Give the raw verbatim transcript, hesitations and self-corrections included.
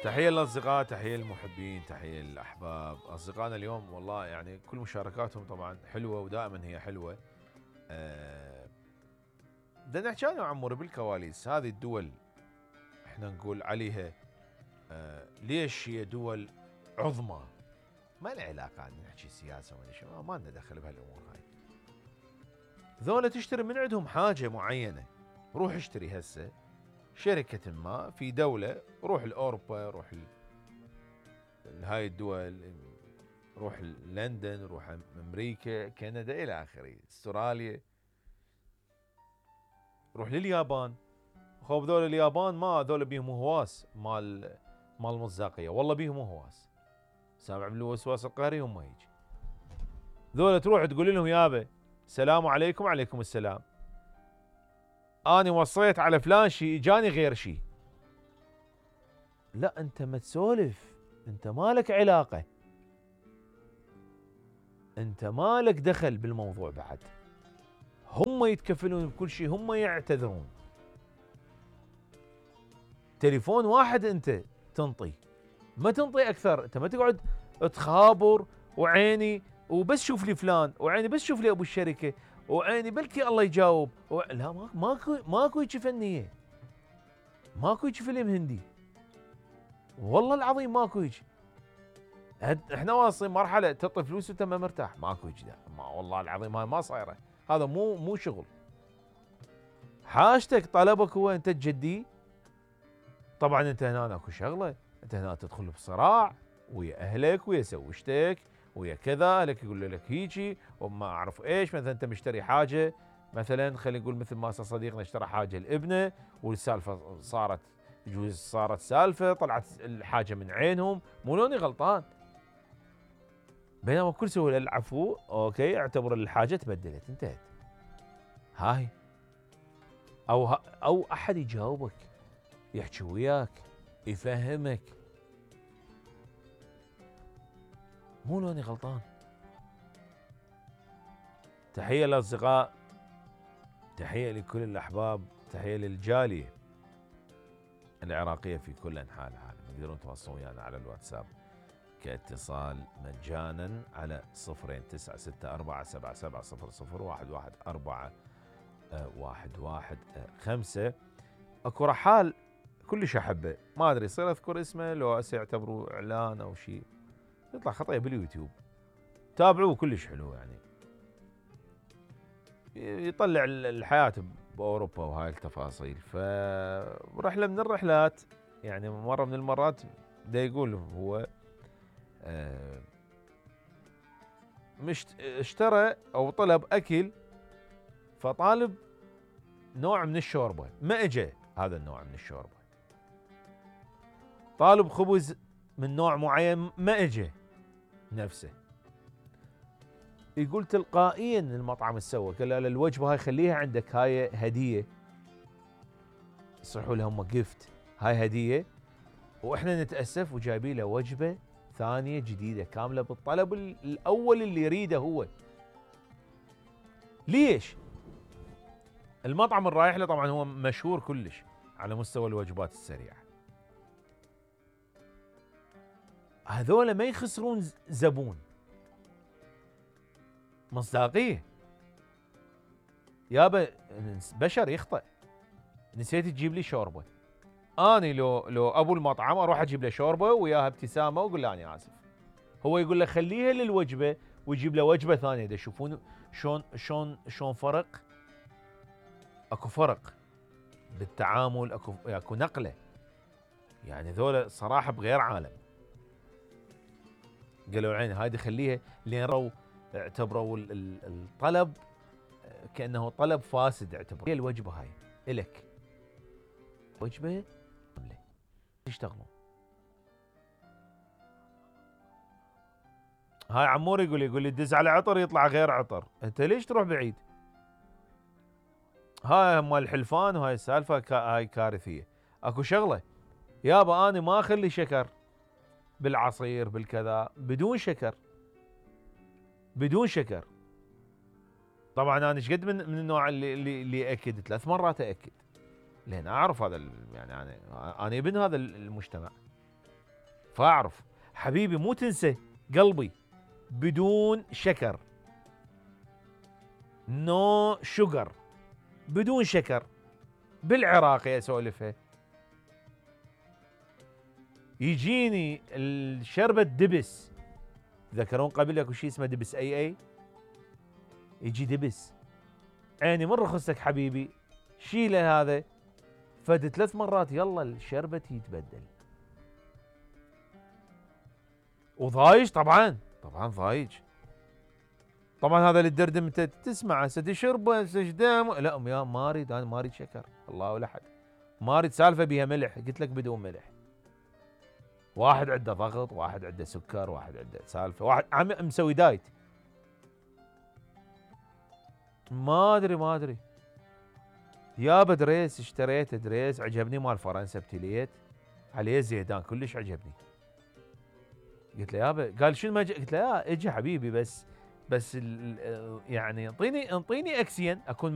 تحية للأصدقاء، تحية للمحبين، تحية للأحباب. أصدقائنا اليوم والله يعني كل مشاركاتهم طبعا حلوة ودائما هي حلوة. أه بدنا نحكي أنا وعموري بالكواليس. هذه الدول احنا نقول عليها أه ليش هي دول عظمى؟ ما لها علاقة ان نحكي سياسة ولا شيء، ما لنا دخل بهالأمور هاي. ذولا تشتري من عندهم حاجة معينة، روح اشتري هسه شركة ما في دولة، روح لأوروبا، روح هاي الدول، روح لندن، روح امريكا، كندا الى اخره، استراليا، روح لليابان. خوف ذول اليابان ما ذول بيهم هواس مال مال المصداقيه، والله بيهم هواس. سامع من الوسواس القهري هم هيك. ذول تروح تقول لهم يابا السلام عليكم، وعليكم السلام، اني وصيت على فلان شيء اجاني غير شيء. لا انت ما تسولف، انت مالك علاقه، انت مالك دخل بالموضوع بعد. هم يتكفلون بكل شيء، هم يعتذرون. تليفون واحد انت تنطي، ما تنطي اكثر. انت ما تقعد تخابر وعيني وبس شوف لي فلان، وعيني بس شوف لي ابو الشركه، وعيني بلكي الله يجاوب و... لا ماكو ماكو هيك فنيه، ماكو هيك فيلم هندي، والله العظيم ماكو هيك. احنا واصلين مرحله تعطي فلوس وانت ما مرتاح، ماكو هيك. ما والله العظيم هاي ما صايره، هذا مو مو شغل. حاجتك طلبك هو انت تجديه. طبعا انت هنا اكو شغله، انت هنا تدخل بصراع ويا اهلك ويا زوجتك ويا كذا. اهلك يقول لك هيجي وما اعرف ايش. مثلا انت مشتري حاجه، مثلا خلينا نقول مثل ما صديقنا اشترى حاجه لابنه، والسالفه صارت يجوز صارت سالفه، طلعت الحاجه من عينهم، مو لوني غلطان. بينما بكل سهوله العفو، اوكي اعتبر الحاجه تبدلت انتهت. هاي او او احد يجاوبك، يحكي وياك، يفهمك، مو لوني غلطان. تحيه للاصدقاء، تحيه لكل الاحباب، تحيه للجاليه العراقيه في كل انحاء العالم. تقدرون تواصلون ويانا على الواتساب كاتصال مجانا على صفرين تسعة ستة أربعة سبعة سبعة صفر صفر واحد واحد أربعة واحد واحد خمسة. اكو رحال كلش احبه، ما ادري يصير اذكر اسمه لو هسه يعتبروه اعلان او شيء، يطلع خطيه باليوتيوب، تابعوه كلش حلو. يعني يطلع الحياه باوروبا وهاي التفاصيل. فرحله من الرحلات، يعني مره من المرات دا يقول هو آه مش اشترى او طلب اكل، فطالب نوع من الشوربه، ما اجى هذا النوع من الشوربه. طالب خبز من نوع معين، ما اجى نفسه. يقول تلقائيا المطعم سوى، قال له الوجبه هاي خليها عندك، هاي هديه، يصيحوا لهم جفت، هاي هديه، واحنا نتاسف وجايبين له وجبه ثانيه جديده كامله بالطلب الاول اللي يريده هو. ليش؟ المطعم الرايح له طبعا هو مشهور كلش على مستوى الوجبات السريعه. هذول ما يخسرون زبون، مصداقيه. يابا بشر يخطئ، نسيت تجيب لي شوربه، اني لو لو ابو المطعم اروح اجيب له شوربه وياها ابتسامه واقول له اني اسف. هو يقول له خليها للوجبه ويجيب له وجبه ثانيه. دا شوفون شلون شلون شلون فرق، اكو فرق بالتعامل، اكو اكو نقله. يعني ذولا صراحه بغير عالم. قالوا عيني هاي خليها لين رو اعتبروا الطلب كانه طلب فاسد، اعتبروا الوجبه هاي الك وجبه كامله يشتغلون. هاي عمور يقول يقول لي دز على عطر يطلع غير عطر، انت ليش تروح بعيد؟ هاي مال الحلفان وهاي السالفه هاي كارثيه. اكو شغله يابا، انا ما اخلي شكر بالعصير بالكذا، بدون شكر، بدون شكر. طبعا انا ايش قد من من النوع اللي اللي, اللي اكد ثلاث مرات اكد، لان اعرف هذا يعني انا انا ابن هذا المجتمع. فاعرف حبيبي مو تنسى قلبي بدون شكر، نو شوجر، بدون شكر، بالعراقي اسولفها. يجيني الشربة دبس، تذكرون قبل اكو شيء اسمه دبس اي اي، يجي دبس عيني من رخصتك حبيبي شيله هذا، فد ثلاث مرات يلا الشربة يتبدل. وضايج طبعا طبعا ضايج. طبعا هذا اللي تدردم انت تسمع هسه تشربه هسه دام، لا يا ما اريد انا ما اريد شكر، الله ولا حد، ما اريد سالفه بيها ملح، قلت لك بدون ملح. واحد عنده ضغط، واحد عنده سكر، واحد عنده سالفه، واحد عم مسوي دايت. ما ادري ما ادري يابا دريس اشتريته دريس عجبني مال فرنسا ابتليت عليه زيدان كلش عجبني. قلت له يابا، قال شنو ما جا؟ قلت له يا اجي حبيبي بس بس يعني انطيني انطيني اكسين اكون مرتاح